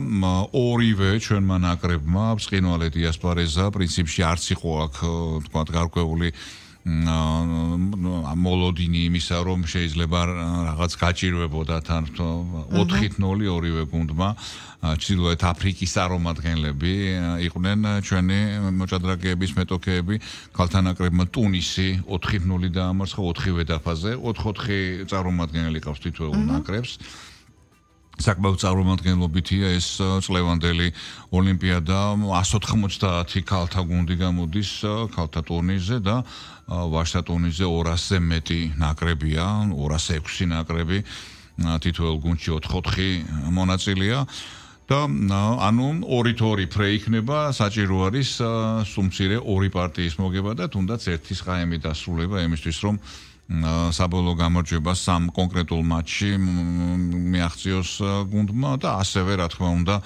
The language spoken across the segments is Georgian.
ორივე ჩვენმა ნაკრებმა ბრწყინვალე დიასპორეზა პრინციპში არც იყო აქ თქვა გარკვეული მოლოდინი იმისა რომ შეიძლება რაღაც გაჭირვებოდა თან 4-0 ორივე გუნდმა ჩრდილოეთ აფრიკის წარმომადგენლები იყვნენ ჩვენი მოჭადრაკეების მეტოქეები ქალთა ნაკრებმა ტუნისი 4-0 დაამარცხა 4-ვე დაფაზე 4-4 წარმომადგენელი ყავს თითოეულ ნაკრებს საკმაოდ წარმომადგენლობითია ეს წლევანდელი ოლიმპიადა 190 ქალთა გუნდი გამოდის ქალთა ტურნირზე და ვაჟთა ტურნირზე 200-ზე მეტი ნაკრებია 206 ნაკრები თითოეულ გუნდში 4-4 მონაწილეა და ანუ 2-2 ფრე იქნება საჭირო არის სუმცირე 2 პარტიის მოგება და თუნდაც ერთი სხაემი დასრულება იმისთვის რომ საბოლოო გამარჯვება სამ კონკრეტულ მატჩში მიაღწიოს გუნდმა და ასევე რა თქმა უნდა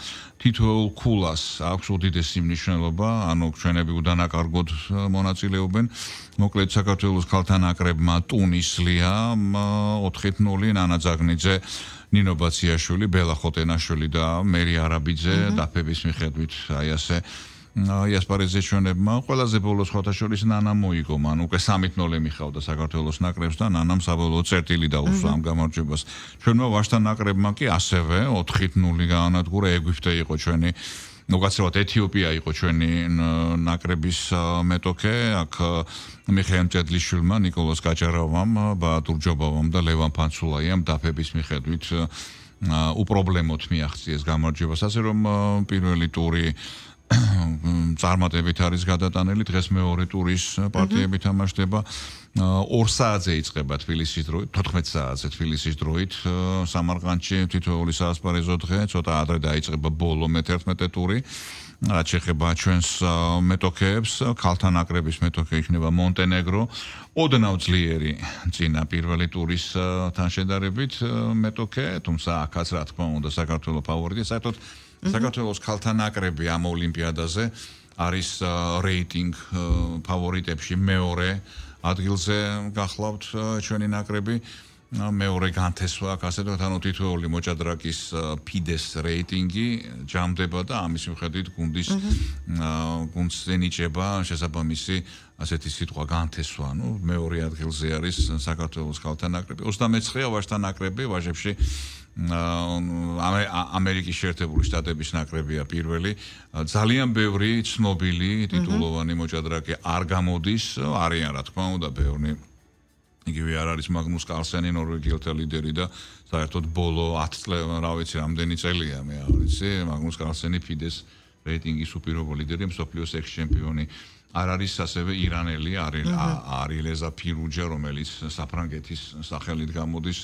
თითოეულ ქულას აქვს უდიდესი მნიშვნელობა ანუ ჩვენები უდანაკარგოდ მონაწილეობენ მოკლედ საქართველოს ქალთა ნაკრებმა ტუნისლია 4-0 ნანა ძაგნიძე ნინო ბაციაშვილი ბელა ხოტენაშვილი და მერი არაბიძე დაფების მიხედვით აი ასე იასპარეზზე ჩვენებმა ყველაზე ბოლოს ხოთაშორის ნანა მოიგო მან უკვე 3-0 მიხავდა საქართველოს ნაკრებს და ნანამ საბოლოო წერტილი დაუსვა ამ გამარჯვებას ჩვენმა ვაჟთა ნაკრებმა კი ასევე 4-0 გაანადგურა ეგვიპტე იყო ჩვენი უკაცრავად ეთიოპია იყო ჩვენი ნაკრების მეტოქე აქ მიხეილ მჭედლიშვილმა ნიკოლოზ გაჭარავამ ბაატურ ჯობავამ და ლევან ფანცულაიამ დაფების მიხედვით უპრობლემოდ მიაღწიეს გამარჯვებას ასე რომ პირველი ტური წარმატებით არის გადატანილი დღეს მეორე ტურის პარტიები თამაშდება 2 საათზე იწყება თბილისის დროით 14 საათზე თბილისის დროით სამარყანდში თითოეული საასპარეზო დღე ცოტა ადრე დაიწყება ბოლო მე-11 ტური რაც შეეხება ჩვენს მეტოქეებს ქალთა ნაკრების მეტოქე იქნება მონტენეგრო ოდნავ ძლიერი წინა პირველი ტურის თან შედარებით მეტოქე თუმცა აქაც რა თქმა უნდა საქართველოს ფავორიტი საერთოდ საქართველოს ქალთა ნაკრები ამ ოლიმპიადაზე არის რეიტინგ ფავორიტებში მეორე ადგილზე გახლავთ ჩვენი ნაკრები მეორე განთესვა აქ ასე ვთქვათ ანუ თითოეული მოჭადრაკის ფიდეს რეიტინგი ჯამდება და ამის მიხედვით გუნდს ენიჭება შესაბამისი ასეთი სიტყვა განთესვა ანუ მეორე ადგილზე არის საქართველოს ქალთა ნაკრები 29-ია ვაჟთა ნაკრები ვაჟებში ამერიკის შეერთებული შტატების ნაკრებია პირველი ძალიან ბევრი ცნობილი ტიტულოვანი მოჭადრაკე არ გამოდის არიან რა თქმა უნდა ბევრი იგივე არ არის მაგნუს კარლსენი ნორვეგიელთა ლიდერი და საერთოდ ბოლო 10 წელი რა ვიცი რამდენი წელია მე არ ვიცი მაგნუს კარლსენი ფიდეს რეიტინგის უპირობო ლიდერი მსოფლიოს ექს-ჩემპიონი არ არის ასევე ირანელი არილეზა ფირუჯა რომელიც საფრანგეთის სახელით გამოდის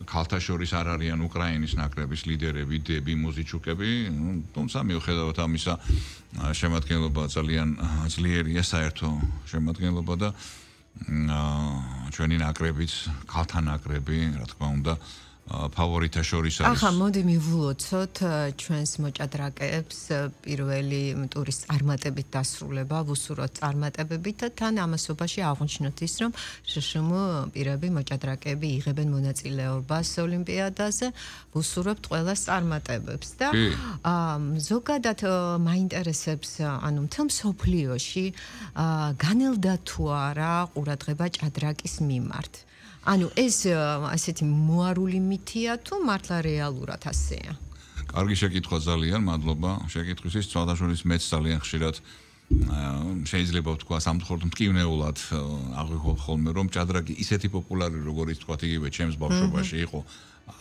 ქალთა შორის არ არიან უკრაინის ნაკრების ლიდერები დები მუზიჩუკები თუმცა მიუხედავად ამისა შემადგენლობა ძალიან ძლიერია საერთო შემადგენლობა და ჩვენი ნაკრებიც ქალთა ნაკრები რა თქმა უნდა ფავორიტთა შორის არის. ახლა მოდი მივულოცოთ ჩვენს მოჭადრაკეებს პირველი ტურის წარმატებით დასრულება, ვუსურვოთ წარმატებებით და თან ამასობაში აღვნიშნოთ ის, რომ შშმ პირები მოჭადრაკეები იღებენ მონაწილეობას ოლიმპიადაზე, ვუსურვებთ ყველას წარმატებებს და ზოგადად მაინტერესებს, ანუ მთელ მსოფლიოში განელდა თუ არა ყურადღება ჭადრაკის მიმართ. ანუ ეს ასეთი მოარული მითია თუ მართლა რეალურად ასეა? კარგი შეკითხვა ძალიან, მადლობა შეკითხვისთვის. ცოტაშორის მეც ძალიან ხშირად შეიძლება ვთქვა სამწუხაროდ მტკივნეულად აღვიქვამთ ხოლმე რომ ჭადრაკი ისეთი პოპულარი როგორიც თქვა იგივე ჩემს ბავშვობაში იყო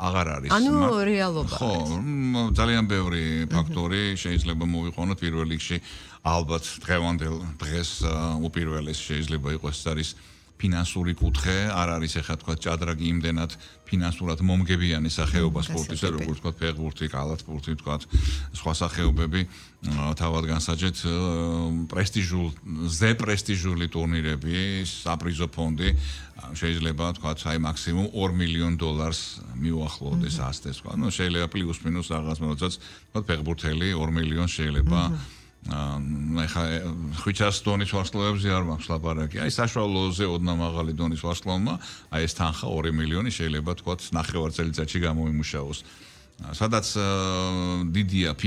აღარ არის. ანუ რეალობა. ხო, ძალიან ბევრი ფაქტორი შეიძლება მოვიყვანოთ პირველ რიგში ალბათ დღევანდელ დღეს უპირველეს შეიძლება იყოს არის ფინანსური კუთხე არ არის ახლა თქვა ჭადრაკი იმდენად ფინანსურად მომგებიანი სახეობა სპორტისა როგორც თქვა ფეხბურთი, კალათბურთი თქვა სხვა სახეობები თავად განსაჯეთ პრესტიჟული ტურნირები საპრიზო ფონდი შეიძლება თქვა აი მაქსიმუმ $2 მილიონ მიუახლოვდეს ასდეს თქვა ну შეიძლება პლუს მინუს რაღაც როდესაც თქვა ფეხბურთელი 2 მილიონს შეიძლება ახლა 500 დონის ვარსკვლავებზე არ მაქვს ლაპარაკი. აი საშუალოზე ოდნა მაღალი დონის ვარსკვლავმა, აი ეს თანხა 2 მილიონი შეიძლება თქვათ ნახევარ წელიწადში გამოიმუშაოს. სადაც დიდია